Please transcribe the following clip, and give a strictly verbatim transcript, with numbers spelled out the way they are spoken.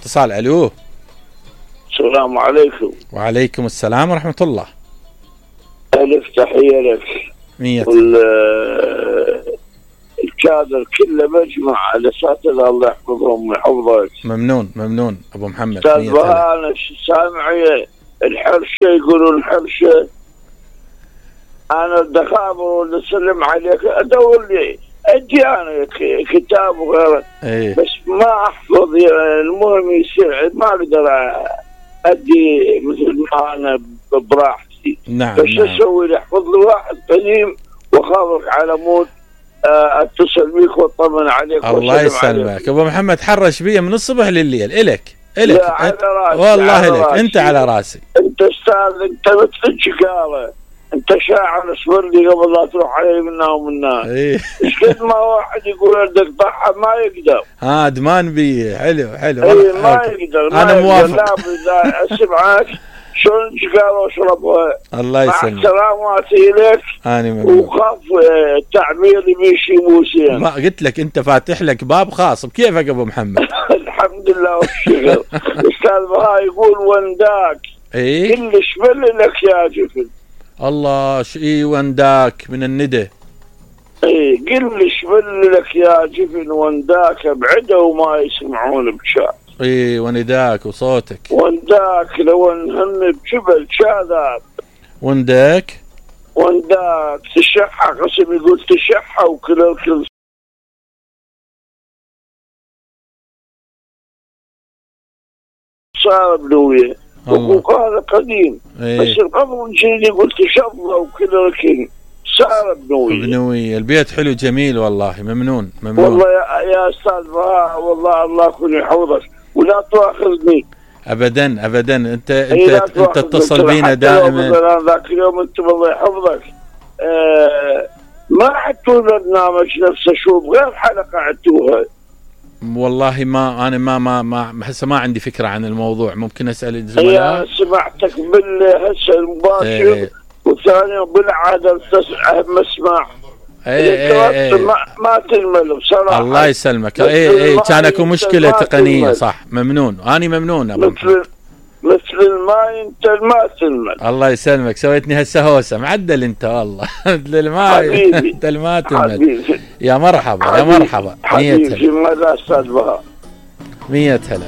اتصال. الو. السلام عليكم. وعليكم السلام ورحمة الله. ألف تحية لك. مية. الكادر كله مجمع على الأساتذة الله يحفظهم ويحفظك. ممنون ممنون أبو محمد. أستاذ بهاء أنا سامع الحرشة يقولون الحرشة، أنا الدخابر واللي سلم عليك أدور لي أدي أنا كتاب وغيره. ايه. بس ما أحفظ يعني المهم يصير ما أقدر أدي مثل ما أنا براحتي. نعم. بس نعم. أسوي لي أحفظ لي واحد قديم وأخابرك على مود اتصل بيك واطمن عليك. الله يسلمك ابو محمد، حرش بي من الصبح لليل. الك الك على راسي والله الك انت على راسي. انت استاذ، انت مثل الشقاله، انت شاعر اصبر لي قبل لا تروح علي منا ومنا. ايه. ايش قد ما واحد يقول بدك ضحى ما يقدر. ها دمان بي. حلو حلو. اي ما يقدر. ما انا موافق. لا اذا اسمعك شلون شقاله واشربها. الله يسلمك. مع سلاماتي لك. اني ممنون. وخاف التعبير بيشي موسين. ما قلت لك انت فاتح لك باب خاص بكيفك ابو محمد. الحمد لله والشكر. استاذ بهاء يقول ونداك. ايه. كلش بل لك يا جفن. الله شي ونداك من الندى. ايه كلش بل لك يا جفن ونداك بعده وما يسمعون بشات. ايه ونداك وصوتك. ونداك لو نهم بجبل شاذاب. ونداك. ونداك تشحى قسم يقول تشحى وكل الكل صار بنويه. وهذا قديم. ايه. بس القبر الجديد يقول تشظى وكل الكل صار بنويه. بنويه. البيت حلو جميل والله. ممنون ممنون والله يا, يا استاذ بهاء والله الله يكون يحفظك ولا تواخذني ابدا ابدا. انت انت انت تتصل بينا دائما. ذاك اليوم انت الله يحفظك آه ما عدتوا البرنامج نفسه شو غير حلقه عدتوها. والله ما انا ما ما ما هسه ما عندي فكره عن الموضوع. ممكن اسال الزملاء. سمعتك بالهسه المباشر. ايه. وثاني بالعاده مسمع. ايه ايه ما, ما تنمل بصراحه. الله يسلمك. ايه ايه كان اكو مشكله تقنيه صح. ممنون. اني ممنون ابو مثل مثل الماء انت ما تنمل. الله يسلمك. سويتني هسه هوسه معدل انت والله. مثل الماء انت ما تنمل. يا مرحبا يا مرحبا. حبيبي ماذا استاذ بهاء. مية هلا.